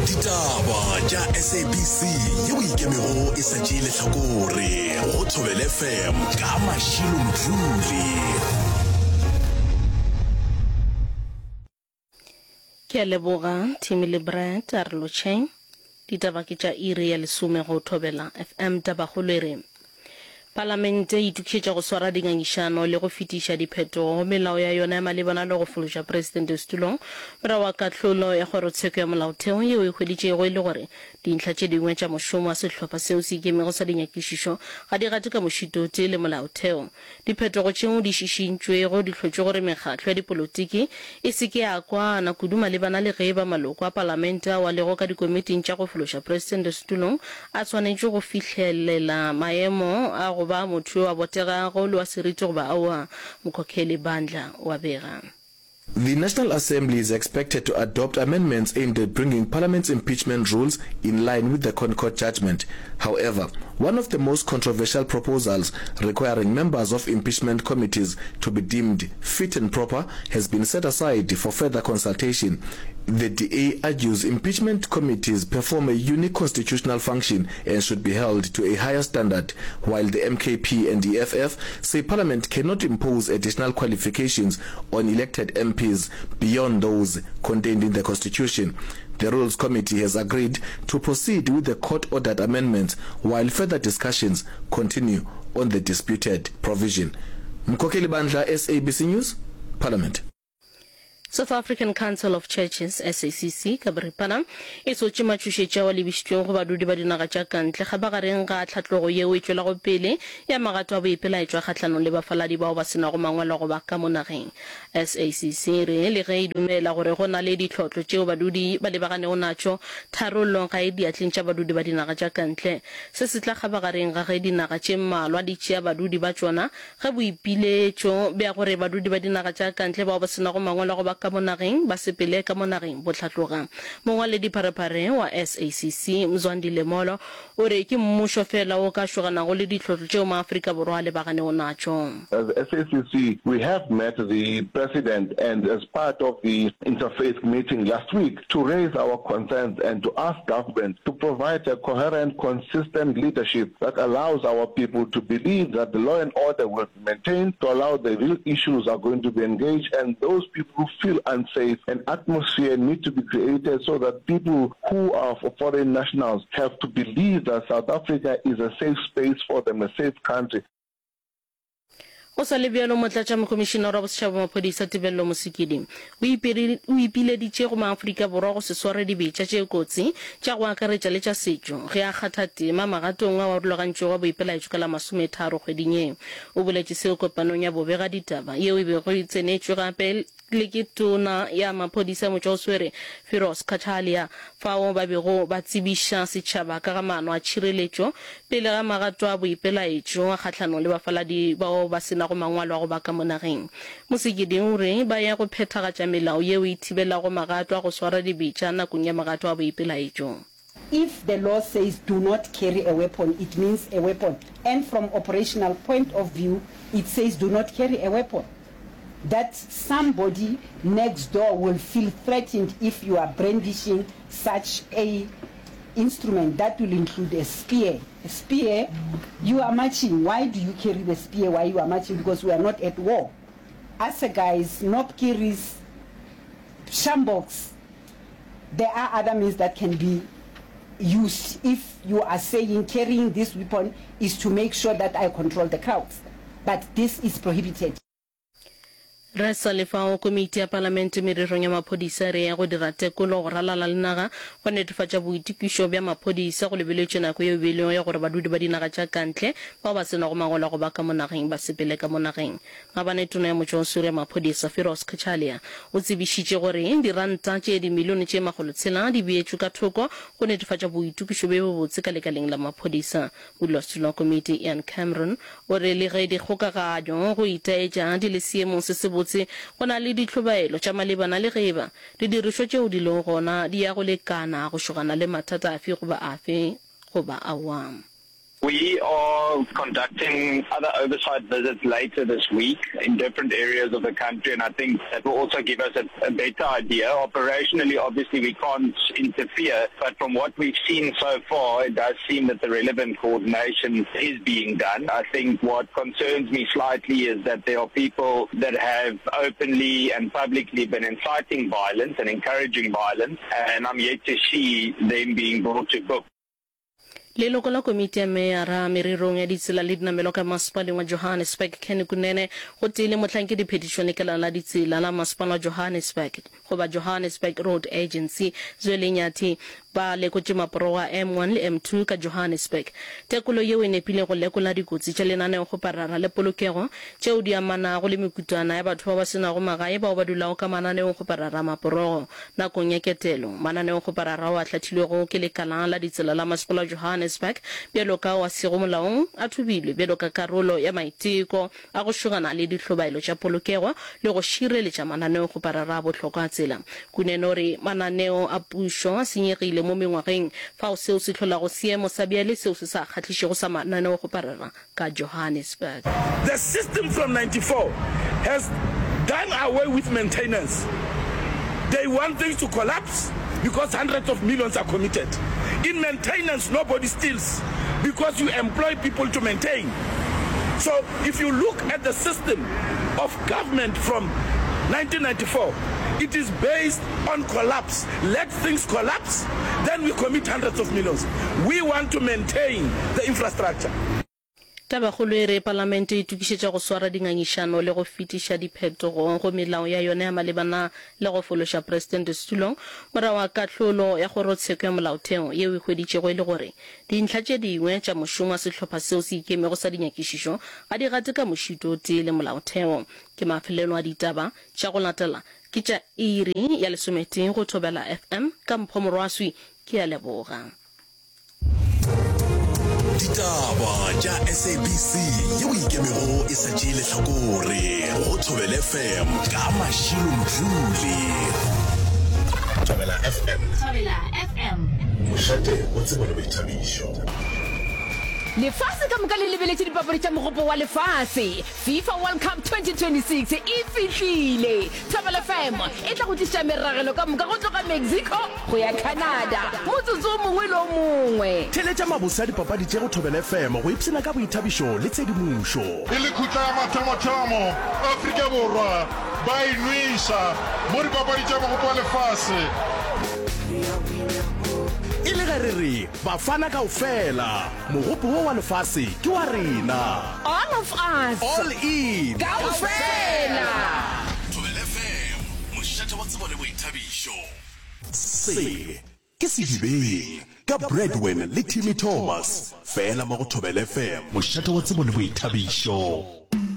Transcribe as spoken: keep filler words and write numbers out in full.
Ditaba tša S A B C yeo ikemego e sa tšee lehlakore go Thobela F M ka Mashilo Mdluli. Ke a leboga Timmy le Brad a re lotšheng. Ditaba ke tša iri ya lesome go Thobela F M. Tabakgolo e re Palamente e itokišetša go swara dingangišano le go fetiša diphetogo go melao ya yona ya malebana le go fološa Presidente setulong morago ga kahlolo ya Kgorotsheko ya Molaotheo yeo e hweditšego e le gore dintlha tše dingwe tša mošomo wa sehlopha seo se ikemego sa dinyakišišo ga di gate ka mošito o tee le Molaotheo. Diphetogo tšeo di šišintšwego di hlotše gore mekgatlo ya dipolotiki e se ke ya kwana kudu malebana le ge e ba maloko a palamente ao a lego ka dikomiting tša go fološa Presidente setulong a swanetše go fihlelela maemo a go ba motho yo a botegago le wa seriti goba aowa. Mokhokheli Bandla o a bega. The National Assembly is expected to adopt amendments aimed at bringing Parliament's impeachment rules in line with the ConCourt judgment. However, one of the most controversial proposals requiring members of impeachment committees to be deemed fit and proper has been set aside for further consultation. The D A argues impeachment committees perform a unique constitutional function and should be held to a higher standard, while the M K P and E F F say Parliament cannot impose additional qualifications on elected M Ps beyond those contained in the Constitution. The Rules Committee has agreed to proceed with the court-ordered amendments while further discussions continue on the disputed provision. Mkhokheli Bandla, S A B C News, Parliament. South African Council of Churches, S A C C, ka boripana, e sotše matšhošetši ao a lebišitšwego go badudi ba dinaga tša ka ntle kgabagareng ga tlhatlogo yeo e tšwelago pele ya magato a boipelaetšo a kgahlanong le bafaladi bao ba se nago mangwalo go ba ka mo nageng. S A C C e re le ge e dumela gore go na le ditlhotlo tšeo badudi ba lebaganego natšo, tharollo ga e diatleng tša badudi ba dinaga tša ka ntle. Se se tla kgabagareng ga ge dinaga tše mmalwa di tšea badudi ba tšona ge boipiletšo bja gore badudi ba dinaga tša ka ntle bao ba se nago mangwalo a go ba ka mo nageng ba sepele ka mo nageng bo hlatloga. Mongwaledipharephare wa S A C C, Mzwandile Molo, o re ke mmušo fela wo ka šoganago le ditlhotlo tšeo maAfrika Borwa a lebaganego natšo. As S A C C, we have met the president and as part of the interfaith meeting last week to raise our concerns and to ask government to provide a coherent, consistent leadership that allows our people to believe that the law and order will be maintained, to allow the real issues are going to be engaged, and those people who feel unsafe, an atmosphere need to be created so that people who are foreign nationals have to believe that South Africa is a safe space for them, a safe country. Go sa le bjalo, Motlatšamokomišinara wa Bosetšhaba wa Maphodisa Tebello Mosikili o ipileditše go maAfrika Borwa go se sware dibetša tše kotsi tša go akaretša le tša setšo ge a kgatha tema magatong ao a rulagantšwego a boipelaetšo ka la masometharo kgweding ye. O boletše seo kopanong ya bobegaditaba yeo e bego e tsenetšwe gape le ke Tona ya Maphodisa Motšwaoswere Firoz Cachalia fao ba bego ba tsebiša setšhaba ka ga maano a tšhireletšo pele ga magato a boipelaetšo a kgahlanong le bafaladi bao ba se nago mangwalo a go ba ka mo nageng. Mosekedi o re ba ya go phethagatša melao yeo e thibelago magato a go swara dibetša nakong ya magato a boipelaetšo. If the law says do not carry a weapon, it means a weapon, and from operational point of view, it says do not carry a weapon. That somebody next door will feel threatened if you are brandishing such a instrument that will include a spear. A spear, you are marching, why do you carry the spear while you are marching? Because we are not at war. Assegais, knobkerries, sjamboks, there are other means that can be used if you are saying carrying this weapon is to make sure that I control the crowds. But this is prohibited. Re sa le fao, Komiti ya Palamente Mererong ya Maphodisa e re ya go dira tekolo go ralala le naga go netefatša boitokišo bja maphodisa go lebeletšwe nako yeo e beilwego ya gore badudi ba dinaga tša kantle bao ba se nago mangwalo a go ba ka mo nageng ba sepele ka mo nageng. Maabane Tona ya Motšwaoswere ya Maphodisa Firoz Cachalia o tsebišitše gore diranta tše dimilione tše makgolotshela di beetšwe ka thoko go netefatša boitokišo bjo bobotse ka lekaleng la maphodisa. Modulasetulo wa komiti Ian Cameron o re le ge dikgokaganyo go itaetša di le seemong se sebotse, go na le dihlobaelo tša malebana le ge eba didirišwa tšeo di lego gona di ya go lekana go šogana le mathata afe goba afe goba aowa. We are conducting other oversight visits later this week in different areas of the country and I think that will also give us a, a better idea. Operationally, obviously, we can't interfere, but from what we've seen so far, it does seem that the relevant coordination is being done. I think what concerns me slightly is that there are people that have openly and publicly been inciting violence and encouraging violence, and I'm yet to see them being brought to book. Leloko la komiti ya meyara mererong ya ditsela le dinamelwa ka masepaleng wa Johannesburg Kenny Kunene gotee le mohlankediphethišo lekala la ditsela la masepala wa Johannesburg goba Johannesburg Road Agency Zweli Nyathi ba lekotše maporogo a M one le M two ka Johannesburg. Tekolo yeo e nepile go lekola dikotsi tša lenaneokgoparara le polokego tšeo di amanago le mekutwana ya batho ba ba se nago magae bao ba dulago ka mananeongkgoparara a maporogo. Nakong ya ketelo, mananeokgoparara ao a hlathilwego ke Lekala la Ditsela la Masepala wa Johannesburg bjalo ka ao a sego molaong a thubilwe bjalo ka karolo ya maiteko a go šogana le dihlobaelo tša polokego le go šireletša mananeokgoparara a bohlokwa a tsela. Kunene o re mananeo a pušo a senyegile mo mengwageng fao seo se hlolago seemo sa bjale seo se sa kgahlišego sa mananeokgoparara ka Johannesburg. The system from ninety four has done away with maintenance. They want things to collapse because hundreds of millions are committed. In maintenance nobody steals because you employ people to maintain. So if you look at the system of government from nineteen ninety four, it is based on collapse. Let things collapse, then we commit hundreds of millions. We want to maintain the infrastructure. Tabakgolo e re Palamente e itokišetša go swara dingangišano le go fetiša diphetogo go melao ya yona ya malebana le go fološa Presidente setulong morago ga kahlolo ya Kgorotsheko ya Molaotheo yeo e hweditšego e le gore dintlha tše dingwe tša mošomo wa sehlopha seo se ikemego sa dinyakišišo ga di gate ka mošito o tee le Molaotheo. Ke mafelelo a ditaba tša go latela ke tša iri ya lesometee go Thobela F M ka Mpho Morwaswi. Ke a leboga. Ditaba tša S A B C yeo e ikemego e sa tšee lehlakore go Thobela F M ka Mashilo Mdluli. Thobela F M. Thobela F M. Mošate wa tsebo le boithabišo. Lefase ka moka le lebeletše dipapadi tša Mogopo wa Lefase. FIFA World Cup twenty twenty-six e fihlile! Thobela F M e tla go tliša meragelo ka moka go tloga Mexico go ya Canada motsotso o mongwe le o mongwe. Theeletša mabose a dipapadi tše go Thobela F M go ipshina ka boithabišo le tshedimošo. E le khutla ya mathomothomo, Afrika Borwa ba e nweša mo dipapadi tša Mogopo wa Lefase. E le ge re re Bafana kaofela, mogopo wo wa lefase ke wa rena. All of us. All in. Kaofela. Thobela F M, mošate wa tsebo le boithabišo. Se ke Sedibeng ka Bradwin le Timmy Thomas, fela mo go Thobela F M, mošate wa tsebo le boithabišo.